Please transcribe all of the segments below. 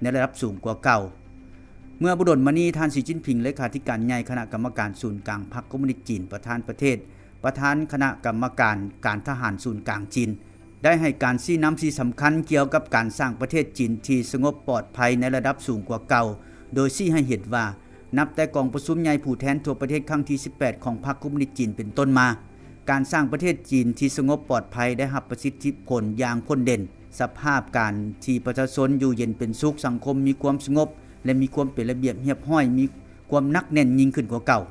ໃນລະດັບສູງກວ່າເກົ່າ. ເມື່ອບໍ່ດົນມານີ້, ທ່ານ ສີ ຈິ້ນຜິງ ເລຂາທິການໃຫຍ່ຄະນະກຳມະການສູນກາງພັກຄອມມູນິດຈີນ, ປະທານປະເທດ, ປະທານຄະນະກຳມະການການທະຫານສູນກາງຈີນ ໄດ້ໃຫ້ການຊີ້ນຳທີ່ສຳຄັນກ່ຽວກັບການສ້າງປະເທດຈີນທີ່ສະຫງົບປອດໄພໃນລະດັບສູງກວ່າເກົ່າ, ໂດຍຊີ້ໃຫ້ເຫັນວ່າ ນັບແຕ່ກອງປະຊຸມໃຫຍ່ຜູ້ແທນທົ່ວປະເທດຄັ້ງທີສິບແປດຂອງພັກຄອມມູນິດຈີນເປັນຕົ້ນມາ, ການສ້າງປະເທດຈີນທີ່ສະຫງົບປອດໄພໄດ້ຮັບປະສິດທິຜົນຢ່າງພົ້ນເດັ່ນ. ສະພາບການທີ່ປະຊາຊົນຢູ່ເຢັນເປັນສຸກ, ສັງຄົມມີຄວາມສະຫງົບ ແລະ ມີຄວາມເປັນລະບຽບຮຽບຮ້ອຍ, ມີຄວາມໜັກແໜ້ນຍິ່ງຂຶ້ນກວ່າເກົ່າ,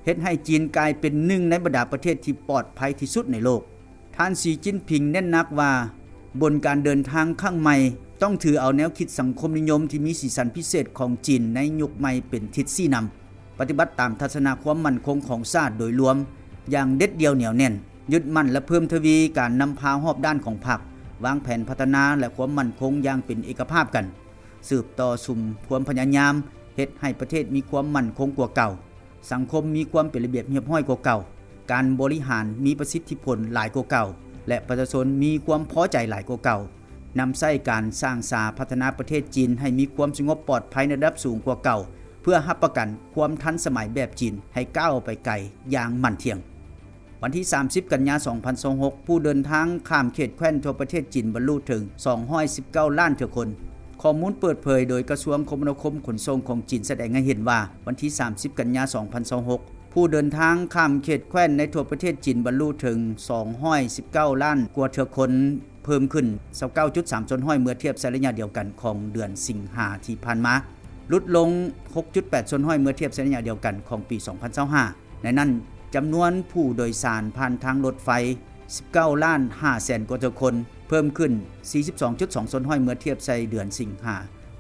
ເຮັດໃຫ້ຈີນກາຍເປັນໜຶ່ງໃນບັນດາປະເທດທີ່ປອດໄພທີ່ສຸດໃນໂລກ. ທ່ານ ສີ ຈິ້ນຜິງ ເນັ້ນໜັກວ່າ ບົນການເດີນທາງຄັ້ງໃໝ່ ຕ້ອງຖືເອົາແນວຄິດສັງຄົມນິຍົມທີ່ມີສີສັນພິເສດຂອງຈີນໃນຍຸກໃໝ່ເປັນທິດຊີ້ນຳ, ປະຕິບັດຕາມທັດສະນະຄວາມໝັ້ນຄົງຂອງຊາດໂດຍລວມຢ່າງເດັດດ່ຽວໜຽວແໜ້ນ, ຍຶດໝັ້ນ ແລະ ເພີ່ມທະວີການນຳພາຮອບດ້ານຂອງພັກ, ວາງແຜນພັດທະນາ ແລະ ຄວາມໝັ້ນຄົງຢ່າງເປັນເອກະພາບກັນ, ສືບຕໍ່ສຸມຄວາມພະຍາຍາມເຮັດໃຫ້ປະເທດມີຄວາມໝັ້ນຄົງກວ່າເກົ່າ, ສັງຄົມມີຄວາມເປັນລະບຽບຮຽບຮ້ອຍກວ່າເກົ່າ, ການບໍລິຫານມີປະສິດທິຜົນຫຼາຍກວ່າເກົ່າ ແລະ ປະຊາຊົນມີຄວາມພໍໃຈຫຼາຍກວ່າເກົ່າ, ນຳໃຊ້ການສ້າງສາພັດທະນາປະເທດຈີນໃຫ້ມີຄວາມສະຫງົບປອດໄພໃນລະດັບສູງກວ່າເກົ່າ ເພື່ອຮັບປະກັນຄວາມທັນສະໄໝແບບຈີນໃຫ້ກ້າວໄປໄກຢ່າງໝັ້ນທ່ຽງ. ວັນທີສາມສິບ ກັນຍາ ສອງພັນຊາວຫົກ ຜູ້ເດີນທາງຂ້າມເຂດແຄວ້ນທົ່ວປະເທດຈີນບັນລຸເຖິງສອງຮ້ອຍສິບເກົ້າລ້ານເທື່ອຄົນ. ຂໍ້ມູນເປີດເຜີຍໂດຍກະຊວງຄົມມະນາຄົມຂົນສົ່ງຂອງຈີນສະແດງໃຫ້ເຫັນວ່າ ວັນທີສາມສິບ ກັນຍາ ສອງພັນຊາວຫົກ ຜູ້ເດີນທາງຂ້າມເຂດແຄວ້ນໃນທົ່ວປະເທດຈີນບັນລຸເຖິງສອງຮ້ອຍສິບເກົ້າລ້ານກວ່າເທື່ອຄົນ, ເພີ່ມຂຶ້ນຊາວເກົ້າຈຸດສາມສ່ວນຮ້ອຍເມື່ອທຽບໃສ່ໄລຍະດຽວກັນຂອງເດືອນສິງຫາທີ່ຜ່ານມາ, ຫຼຸດລົງຫົກຈຸດແປດສ່ວນຮ້ອຍເມື່ອທຽບໃສ່ໄລຍະດຽວກັນຂອງປີສອງພັນຊາວຫ້າ. ໃນນັ້ນ, ຈຳນວນຜູ້ໂດຍສານຜ່ານທາງລົດໄຟສິບເກົ້າລ້ານຫ້າແສນກວ່າເທື່ອຄົນ, ເພີ່ມຂຶ້ນສີ່ສິບສອງຈຸດສອງສ່ວນຮ້ອຍເມື່ອທຽບໃສ່ເດືອນສິງຫາ,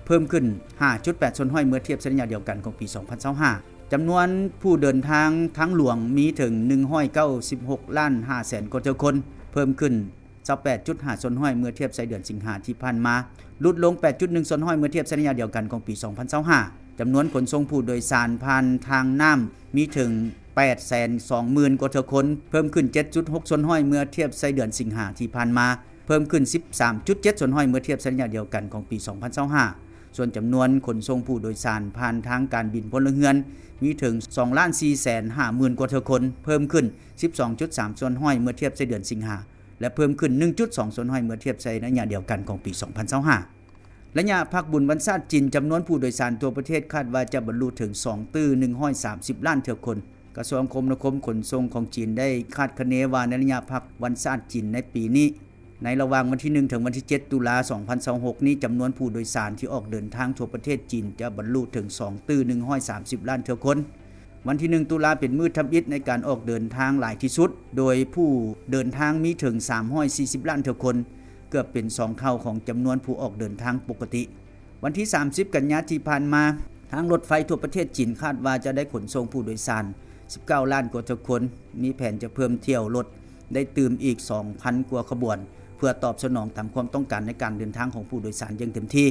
ເພີ່ມຂຶ້ນຫ້າຈຸດແປດສ່ວນຮ້ອຍເມື່ອທຽບໃສ່ໄລຍະດຽວກັນຂອງປີສອງພັນຊາວຫ້າ. ຈຳນວນຜູ້ເດີນທາງທາງຫຼວງມີເຖິງໜຶ່ງຮ້ອຍເກົ້າສິບຫົກລ້ານຫ້າແສນກວ່າເທື່ອຄົນ, ເພີ່ມຂຶ້ນຊາວແປດຈຸດຫ້າສ່ວນຮ້ອຍເມື່ອທຽບໃສ່ເດືອນສິງຫາທີ່ຜ່ານມາ, ຫຼຸດລົງແປດຈຸດໜຶ່ງສ່ວນຮ້ອຍເມື່ອທຽບໃສ່ໄລຍະດຽວກັນຂອງປີສອງພັນຊາວຫ້າ. ຈຳນວນຂົນສົ່ງຜູ້ໂດຍສານຜ່ານທາງນ້ຳມີເຖິງແປດແສນສອງໝື່ນກວ່າເທື່ອຄົນ, ເພີ່ມຂຶ້ນເຈັດຈຸດຫົກສ່ວນຮ້ອຍເມື່ອທຽບໃສ່ເດືອນສິງຫາທີ່ຜ່ານມາ, ເພີ່ມຂຶ້ນສິບສາມຈຸດເຈັດສ່ວນຮ້ອຍເມື່ອທຽບໃສ່ໄລຍະດຽວກັນຂອງປີສອງພັນຊາວຫ້າ. ສ່ວນຈຳນວນຂົນສົ່ງຜູ້ໂດຍສານຜ່ານທາງການບິນພົນລະເຮືອນ ມີເຖິງສອງລ້ານສີ່ແສນຫ້າໝື່ນກວ່າເທື່ອຄົນ, ເພີ່ມຂຶ້ນສິບສອງຈຸດສາມສ່ວນຮ້ອຍເມື່ອທຽບໃສ່ເດືອນສິງຫາ ແລະ ເພີ່ມຂຶ້ນໜຶ່ງຈຸດສອງສ່ວນຮ້ອຍເມື່ອທຽບໃສ່ໄລຍະດຽວກັນຂອງປີສອງພັນຊາວຫ້າ. ໄລຍະພັກບຸນວັນຊາດຈີນ, ຈຳນວນຜູ້ໂດຍສານທົ່ວປະເທດຄາດວ່າຈະບັນລຸເຖິງສອງຕື້ໜຶ່ງຮ້ອຍສາມສິບລ້ານເທື່ອຄົນ. ກະຊວງຄົມມະນາຄົມຂົນສົ່ງຂອງຈີນໄດ້ຄາດຄະເນວ່າ ໃນໄລຍະພັກວັນຊາດຈີນໃນປີນີ້, ໃນລະຫວ່າງວັນທີໜຶ່ງ ເຖິງວັນທີເຈັດ ຕຸລາ ສອງພັນຊາວຫົກນີ້, ຈຳນວນຜູ້ໂດຍສານທີ່ອອກເດີນທາງທົ່ວປະເທດຈີນຈະບັນລຸເຖິງສອງຕື້ໜຶ່ງຮ້ອຍສາມສິບລ້ານເທື່ອຄົນ. ວັນທີໜຶ່ງ ຕຸລາ ເປັນມື້ທຳອິດໃນການອອກເດີນທາງຫຼາຍທີ່ສຸດ, ໂດຍຜູ້ເດີນທາງມີເຖິງສາມຮ້ອຍສີ່ສິບລ້ານເທື່ອຄົນ, ເກືອບເປັນສອງເທົ່າຂອງຈຳນວນຜູ້ອອກເດີນທາງປົກກະຕິ. ວັນທີສາມສິບ ກັນຍາທີ່ຜ່ານມາ, ທາງລົດໄຟທົ່ວປະເທດຈີນຄາດວ່າຈະໄດ້ຂົນສົ່ງຜູ້ໂດຍສານສິບເກົ້າລ້ານກວ່າເທື່ອຄົນ, ມີແຜນຈະເພີ່ມຖ້ຽວລົດໄດ້ຕື່ມອີກສອງພັນກວ່າຂະບວນ, ເພື່ອຕອບສະໜອງຕາມຄວາມຕ້ອງການໃນການເດີນທາງຂອງຜູ້ໂດຍສານຢ່າງເຕັມທີ່.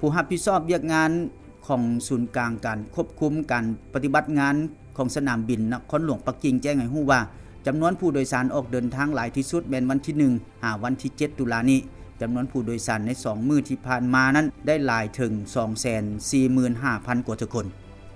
ຜູ້ຮັບຜິດຊອບວຽກງານຂອງສູນກາງການຄວບຄຸມການປະຕິບັດງານຂອງສະໜາມບິນນະຄອນຫຼວງປັກກິ່ງແຈ້ງໃຫ້ຮູ້ວ່າ, ຈຳນວນຜູ້ໂດຍສານອອກເດີນທາງຫຼາຍທີ່ສຸດແມ່ນວັນທີໜຶ່ງ ຫາວັນທີເຈັດ ຕຸລານີ້. ຈຳນວນຜູ້ໂດຍສານໃນສອງມື້ທີ່ຜ່ານມານັ້ນໄດ້ຫຼາຍເຖິງສອງແສນສີ່ໝື່ນຫ້າພັນກວ່າເທື່ອຄົນ.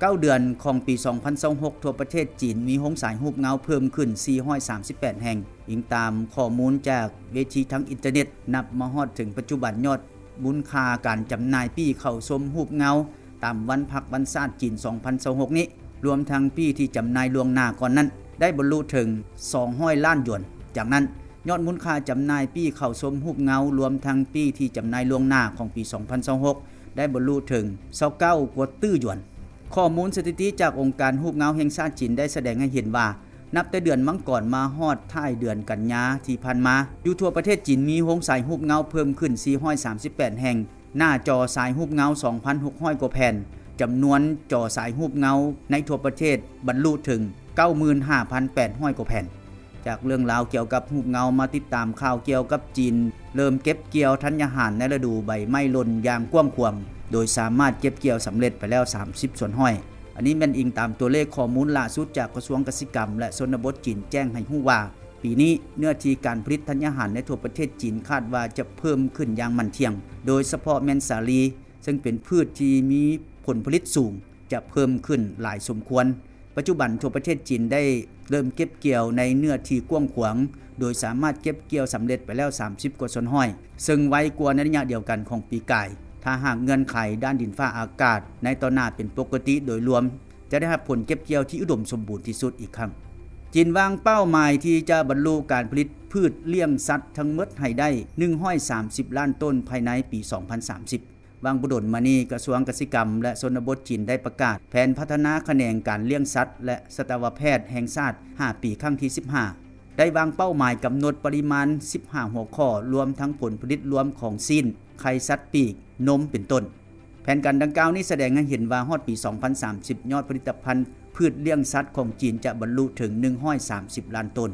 ເກົ້າເດືອນຂອງປີສອງພັນຊາວຫົກ ທົ່ວປະເທດຈີນມີໂຮງສາຍຮູບເງົາເພີ່ມຂຶ້ນສີ່ຮ້ອຍສາມສິບແປດແຫ່ງ, ອີງຕາມຂໍ້ມູນຈາກເວທີທາງອິນເຕີເນັດ. ນັບມາຮອດເຖິງປັດຈຸບັນ, ຍອດມູນຄ່າການຈຳໜ່າຍປີ້ເຂົ້າຊົມຮູບເງົາຕາມວັນພັກວັນຊາດຈີນສອງພັນຊາວຫົກນີ້, ລວມທັງປີ້ທີ່ຈຳໜ່າຍລ່ວງໜ້າກ່ອນນັ້ນ, ໄດ້ບັນລຸເຖິງສອງຮ້ອຍລ້ານຢວນ. ຈາກນັ້ນ, ຍອດມູນຄ່າຈຳໜ່າຍປີ້ເຂົ້າຊົມຮູບເງົາ ລວມທັງປີ້ທີ່ຈຳໜ່າຍລ່ວງໜ້າຂອງປີສອງພັນຊາວຫົກ ໄດ້ບັນລຸເຖິງຊາວເກົ້າກວ່າຕື້ຢວນ. ຂໍ້ມູນສະຖິຕິຈາກອົງການຮູບເງົາແຫ່ງຊາດຈີນໄດ້ສະແດງໃຫ້ເຫັນວ່າ, ນັບແຕ່ເດືອນມັງກອນມາຮອດທ້າຍເດືອນກັນຍາທີ່ຜ່ານມາ, ຢູ່ທົ່ວປະເທດຈີນມີໂຮງສາຍຮູບເງົາເພີ່ມຂຶ້ນສີ່ຮ້ອຍສາມສິບແປດແຫ່ງ, ໜ້າຈໍສາຍຮູບເງົາສອງພັນຫົກຮ້ອຍກວ່າແຜ່ນ, ຈຳນວນຈໍສາຍຮູບເງົາໃນທົ່ວປະເທດບັນລຸເຖິງເກົ້າໝື່ນຫ້າພັນແປດຮ້ອຍກວ່າແຜ່ນ. ຈາກເລື່ອງລາວກ່ຽວກັບຮູບເງົາ, ມາຕິດຕາມຂ່າວກ່ຽວກັບຈີນເລີ່ມເກັບກ່ຽວທັນຍາຫານໃນລະດູໃບໄມ້ຫຼົ່ນຢ່າງກວ້າງຂວາງ, ໂດຍສາມາດເກັບກ່ຽວສຳເລັດໄປແລ້ວສາມສິບສ່ວນຮ້ອຍ. ອັນນີ້ແມ່ນອີງຕາມຕົວເລກຂໍ້ມູນຫຼ້າສຸດຈາກກະຊວງກະສິກຳ ແລະ ຊົນນະບົດຈີນແຈ້ງໃຫ້ຮູ້ວ່າ, ປີນີ້ເນື້ອທີ່ການຜະລິດທັນຍາຫານໃນທົ່ວປະເທດຈີນຄາດວ່າຈະເພີ່ມຂຶ້ນຢ່າງໝັ້ນທ່ຽງ, ໂດຍສະເພາະແມ່ນສາລີ, ເຊິ່ງເປັນພືດທີ່ມີຜົນຜະລິດສູງ ຈະເພີ່ມຂຶ້ນຫຼາຍສົມຄວນ. ປັດຈຸບັນທົ່ວປະເທດຈີນໄດ້ເລີ່ມເກັບກ່ຽວໃນເນື້ອທີ່ກວ້າງຂວາງ ໂດຍສາມາດເກັບກ່ຽວສຳເລັດໄປແລ້ວສາມສິບກວ່າສ່ວນຮ້ອຍ ເຊິ່ງໄວກວ່າໃນໄລຍະດຽວກັນຂອງປີກາຍ. ຖ້າຫາກເງື່ອນໄຂດ້ານດິນຟ້າອາກາດໃນຕໍ່ໜ້າເປັນປົກກະຕິໂດຍລວມ, ຈະໄດ້ຮັບຜົນເກັບກ່ຽວທີ່ອຸດົມສົມບູນທີ່ສຸດອີກຄັ້ງ. ຈີນວາງເປົ້າໝາຍທີ່ຈະບັນລຸການຜະລິດພືດລ້ຽງສັດທັງໝົດໃຫ້ໄດ້ໜຶ່ງຮ້ອຍສາມສິບລ້ານໂຕນພາຍໃນປີສອງພັນສາມສິບ. ຫວ່າງບໍ່ດົນມານີ້, ກະຊວງກະສິກຳ ແລະ ຊົນນະບົດຈີນໄດ້ປະກາດແຜນພັດທະນາຂະແໜງການລ້ຽງສັດ ແລະ ສັດວະແພດແຫ່ງຊາດຫ້າປີ ຄັ້ງທີສິບຫ້າ ໄດ້ວາງເປົ້າໝາຍກຳນົດປະລິມານສິບຫ້າຫົວຂໍ້, ລວມທັງຜົນຜະລິດລວມຂອງຊີ້ນ, ໄຂ່ສັດປີກ, ນົມ ເປັນຕົ້ນ. ແຜນການດັ່ງກ່າວນີ້ສະແດງໃຫ້ເຫັນວ່າ ຮອດປີສອງພັນສາມສິບ ຍອດຜະລິດຕະພັນພືດລ້ຽງສັດຂອງຈີນຈະບັນລຸເຖິງໜຶ່ງຮ້ອຍສາມສິບລ້ານໂຕນ.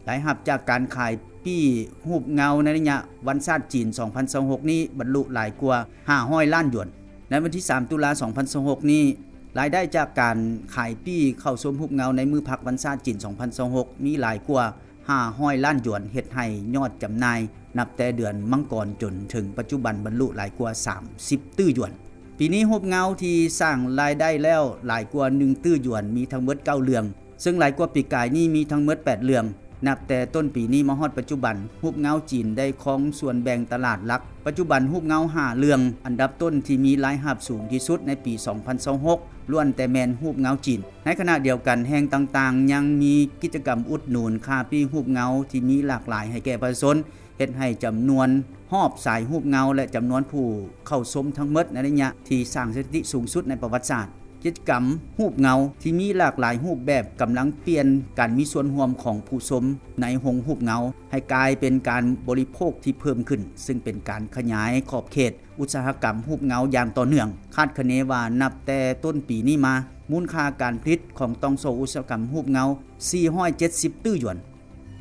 ລາຍຮັບຈາກການຂາຍປີ້ຮູບເງົາໃນໄລຍະວັນຊາດຈີນສອງພັນຊາວຫົກນີ້ບັນລຸຫຼາຍກວ່າຫ້າຮ້ອຍລ້ານຢວນ. ໃນວັນທີສາມ ຕຸລາ ສອງພັນຊາວຫົກນີ້, ລາຍໄດ້ຈາກການຂາຍປີ້ເຂົ້າຊົມຮູບເງົາໃນມື້ພັກວັນຊາດຈີນສອງພັນຊາວຫົກມີຫຼາຍກວ່າຫ້າຮ້ອຍລ້ານຢວນ, ເຮັດໃຫ້ຍອດຈຳໜ່າຍ ນັບແຕ່ເດືອນມັງກອນຈົນເຖິງປັດຈຸບັນບັນລຸຫຼາຍກວ່າສາມສິບຕື້ຢວນ. ປີນີ້ຮູບເງົາທີ່ສ້າງລາຍໄດ້ແລ້ວຫຼາຍກວ່າໜຶ່ງຕື້ຢວນ ມີທັງໝົດເກົ້າເລື່ອງ, ເຊິ່ງຫຼາຍກວ່າປີກາຍນີ້ມີທັງໝົດແປດເລື່ອງ. ນັບແຕ່ຕົ້ນປີນີ້ມາຮອດປັດຈຸບັນ, ຮູບເງົາຈີນໄດ້ຄອງສ່ວນແບ່ງຕະຫຼາດຫຼັກ. ປັດຈຸບັນຮູບເງົາຫ້າເລື່ອງອັນດັບຕົ້ນທີ່ມີລາຍຮັບສູງທີ່ສຸດໃນປີສອງພັນຊາວຫົກ ລ້ວນແຕ່ແມ່ນຮູບເງົາຈີນ. ໃນຂະນະດຽວກັນ, ແຫ່ງຕ່າງໆຍັງມີກິດຈະກຳອຸດໜູນຄ້າປີ້ຮູບເງົາທີ່ມີຫຼາກຫຼາຍໃຫ້ແກ່ປະຊາຊົນ, ເຮັດໃຫ້ຈຳນວນຮອບສາຍຮູບເງົາ ແລະ ຈຳນວນຜູ້ເຂົ້າຊົມທັງໝົດໃນໄລຍະທີ່ສ້າງສະຖິຕິສູງສຸດໃນປະຫວັດສາດ. ກິດຈະກຳຮູບເງົາທີ່ມີຫຼາກຫຼາຍຮູບແບບກຳລັງປ່ຽນການມີສ່ວນຮ່ວມຂອງຜູ້ຊົມໃນໂຮງຮູບເງົາ ໃຫ້ກາຍເປັນການບໍລິໂພກທີ່ເພີ່ມຂຶ້ນ, ເຊິ່ງເປັນການຂະຫຍາຍຂອບເຂດອຸດສາຫະກຳຮູບເງົາຢ່າງຕໍ່ເນື່ອງ. ຄາດຄະເນວ່ານັບແຕ່ຕົ້ນປີນີ້ມາ, ມູນຄ່າການຜະລິດຂອງຕ່ອງໂສ້ອຸດສາຫະກຳຮູບເງົາສີ່ຮ້ອຍເຈັດສິບຕື້ຢວນ.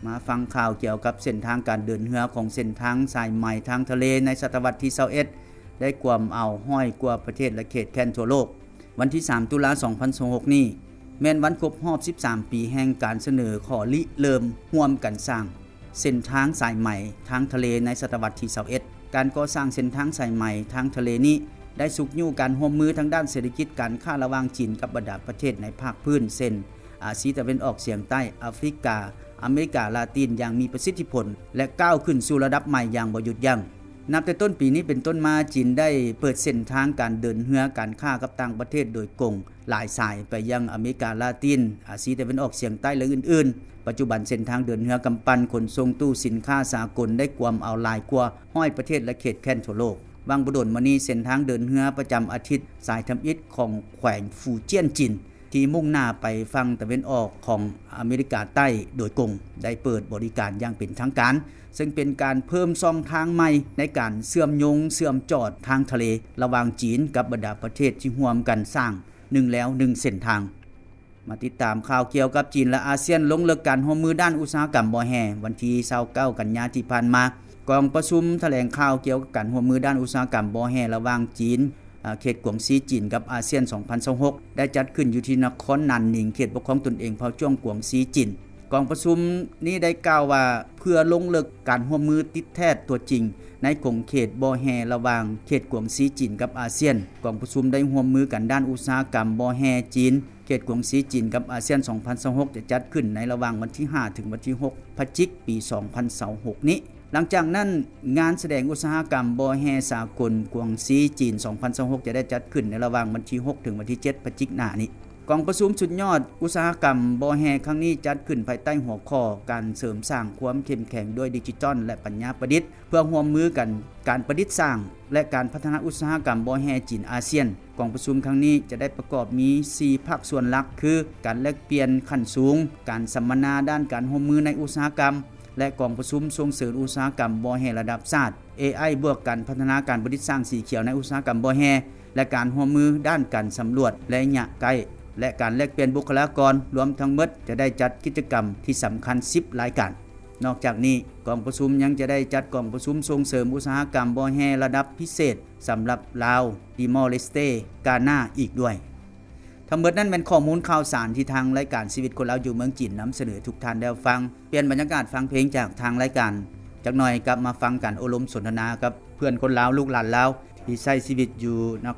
ມາຟັງຂ່າວກ່ຽວກັບເສັ້ນທາງການເດີນເຮືອຂອງເສັ້ນທາງສາຍໄໝທາງທະເລໃນສະຕະວັດທີຊາວເອັດ ໄດ້ກວມເອົາຮ້ອຍກວ່າປະເທດ ແລະ ເຂດແຄວ້ນທົ່ວໂລກ. ວັນທີສາມ ຕຸລາ ສອງພັນຊາວຫົກນີ້ ແມ່ນວັນຄົບຮອບສິບສາມປີແຫ່ງການສະເໜີຂໍລິເລີ່ມຮ່ວມກັນສ້າງເສັ້ນທາງສາຍໄໝທາງທະເລໃນສະຕະວັດທີຊາວເອັດ. ການກໍ່ສ້າງເສັ້ນທາງສາຍໄໝທາງທະເລນີ້ ໄດ້ຊຸກຍູ້ການຮ່ວມມືທາງດ້ານເສດຖະກິດການຄ້າລະຫວ່າງຈີນກັບບັນດາປະເທດໃນພາກພື້ນ ເຊັ່ນ ອາຊີຕາເວັນອອກສຽງໃຕ້, ອາຟຣິກາ, ອາເມລິກາລາຕິນ ຢ່າງມີປະສິດທິຜົນ ແລະ ກ້າວຂຶ້ນສູ່ລະດັບໃໝ່ຢ່າງບໍ່ຢຸດຢັ້ງ. ນັບແຕ່ຕົ້ນປີນີ້ເປັນຕົ້ນມາ, ຈີນໄດ້ເປີດເສັ້ນທາງການເດີນເຮືອການຄ້າກັບຕ່າງປະເທດໂດຍກົງຫຼາຍສາຍໄປຍັງອາເມລິກາລາຕິນ, ອາຊີຕາເວັນອອກສຽງໃຕ້ ແລະ ອື່ນໆ. ປັດຈຸບັນເສັ້ນທາງເດີນເຮືອກຳປັ່ນຂົນສົ່ງຕູ້ສິນຄ້າສາກົນໄດ້ກວມເອົາຫຼາຍກວ່າຮ້ອຍປະເທດ ແລະ ເຂດແຄວ້ນທົ່ວໂລກ. ຫວ່າງບໍ່ດົນມານີ້, ເສັ້ນທາງເດີນເຮືອປະຈຳອາທິດສາຍທຳອິດຂອງແຂວງຟູຈຽນຈີນ ທີ່ມຸ່ງໜ້າໄປຝັ່ງຕາເວັນອອກຂອງອາເມລິກາໃຕ້ໂດຍກົງ ໄດ້ເປີດບໍລິການຢ່າງເປັນທາງການ, ເຊິ່ງເປັນການເພີ່ມຊ່ອງທາງໃໝ່ໃນການເຊື່ອມໂຍງເຊື່ອມຈອດທາງທະເລລະຫວ່າງຈີນກັບບັນດາປະເທດທີ່ຮ່ວມກັນສ້າງໜຶ່ງແລວໜຶ່ງເສັ້ນທາງ. ມາຕິດຕາມຂ່າວກ່ຽວກັບຈີນ ແລະ ອາຊຽນ ລົງເລິກການຮ່ວມມືດ້ານອຸດສາຫະກຳບໍ່ແຮ່. ວັນທີຊາວເກົ້າ ກັນຍາທີ່ຜ່ານມາ, ກອງປະຊຸມຖະແຫຼງຂ່າວກ່ຽວກັບການຮ່ວມມືດ້ານອຸດສາຫະກຳບໍ່ແຮ່ລະຫວ່າງຈີນ, ເຂດກວາງຊີຈີນ ກັບອາຊຽນ ສອງພັນຊາວຫົກ ໄດ້ຈັດຂຶ້ນຢູ່ທີ່ນະຄອນໜານໜິງ, ເຂດປົກຄອງຕົນເອງເຜົ່າຈ້ວງກວາງຊີຈີນ. ກອງປະຊຸມນີ້ໄດ້ກ່າວວ່າ ເພື່ອລົງເລິກການຮ່ວມມືຕິດແທດຕົວຈິງໃນຂົງເຂດບໍ່ແຮ່ລະຫວ່າງເຂດກວາງຊີຈີນກັບອາຊຽນ. ກອງປະຊຸມໄດ້ຮ່ວມມືກັນດ້ານອຸດສາຫະກຳບໍ່ແຮ່ຈີນ, ເຂດກວາງຊີຈີນກັບອາຊຽນ ສອງພັນຊາວຫົກ ຈະຈັດຂຶ້ນໃນລະຫວ່າງວັນທີຫ້າ ເຖິງວັນທີຫົກ ພະຈິກ ປີສອງພັນຊາວຫົກນີ້. ຫຼັງຈາກນັ້ນ, ງານສະແດງອຸດສາຫະກຳບໍ່ແຮ່ສາກົນກວາງຊີຈີນ ສອງພັນຊາວຫົກ ຈະໄດ້ຈັດຂຶ້ນໃນລະຫວ່າງວັນທີຫົກ ເຖິງວັນທີເຈັດ ພະຈິກ ໜ້ານີ້. ກອງປະຊຸມສຸດຍອດອຸດສາຫະກຳບໍ່ແຮ່ຄັ້ງນີ້ ຈັດຂຶ້ນພາຍໃຕ້ຫົວຂໍ້ ການເສີມສ້າງຄວາມເຂັ້ມແຂງດ້ວຍດິຈິຕອນ ແລະ ປັນຍາປະດິດ ເພື່ອຮ່ວມມືກັນການປະດິດສ້າງ ແລະ ການພັດທະນາອຸດສາຫະກຳບໍ່ແຮ່ຈີນອາຊຽນ. ກອງປະຊຸມຄັ້ງນີ້ຈະໄດ້ປະກອບມີສີ່ພາກສ່ວນຫຼັກ ຄື ການແລກປ່ຽນຂັ້ນສູງ, ການສຳມະນາດ້ານການຮ່ວມມືໃນອຸດສາຫະກຳ ແລະ ກອງປະຊຸມສົ່ງເສີມອຸດສາຫະກຳບໍ່ແຮ່ລະດັບຊາດ, ເອໄອ ບວກການພັດທະນາການປະດິດສ້າງສີຂຽວໃນອຸດສາຫະກຳບໍ່ແຮ່ ແລະ ການຮ່ວມມືດ້ານການສຳຫຼວດໄລຍະໃກ້ ແລະ ການແລກປ່ຽນບຸກຄະລາກອນ. ລວມທັງໝົດຈະໄດ້ຈັດກິດຈະກຳທີ່ສຳຄັນສິບລາຍການ. ນອກຈາກນີ້, ກອງປະຊຸມຍັງຈະໄດ້ຈັດກອງປະຊຸມສົ່ງເສີມອຸດສາຫະກຳບໍ່ແຮ່ລະດັບພິເສດສຳລັບລາວ, ຕີມໍເລສເຕ, ການາ ອີກດ້ວຍ. ທັງໝົດນັ້ນແມ່ນຂໍ້ມູນຂ່າວສານທີ່ທາງລາຍການຊີວິດຄົນລາວຢູ່ເມືອງຈີນນຳສະເໜີທຸກທ່ານໄດ້ຮັບຟັງ. ປ່ຽນບັນຍາກາດຟັງເພງຈາກທາງລາຍການ, ຈັກໜ່ອຍກັບມາຟັງການໂອ້ລົມສົນທະນາກັບເພື່ອນຄົນລາວ, ລູກຫຼານລາວ ທີ່ໃຊ້ຊີວິດຢູ່ນະ